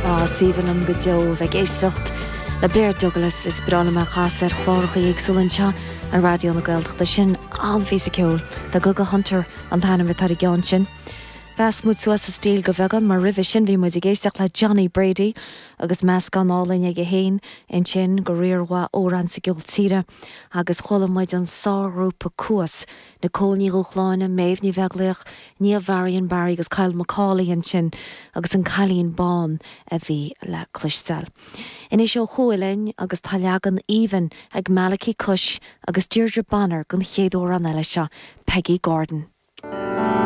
Á, is aoibhinn liom go deo a bheith ag éisteacht le Blair Douglas, is breá liom é a chasadh ar chláracha éagsúla anseo ar Raidió na Gaeltachta. Sin an-phíosa ceoil. The Gugga Hunter an t-ainm atá ar an gceann sin. Mheasc muid suas an stíl go bheagán mar roimhe sin bhí muid ag éisteacht le Johnny Brady agus meascán álainn aige féin ansin de riar mhaith amhrán sa gceol tíre agus chuala muid an sárghrúpa Cuas, Nicole Ní Dhúshláine, Méabh Ní Bheaglaoich, Niamh Mharion Barry agus Kyle McCauley ansin agus an Cailín Bán a bhí le cloisteáil. Anois ó thuaidh linn agus tá leagan aoibhinn ag Malachy Cush agus Deirdre Bonner den chéad amhrán eile seo, Peggy Gordon.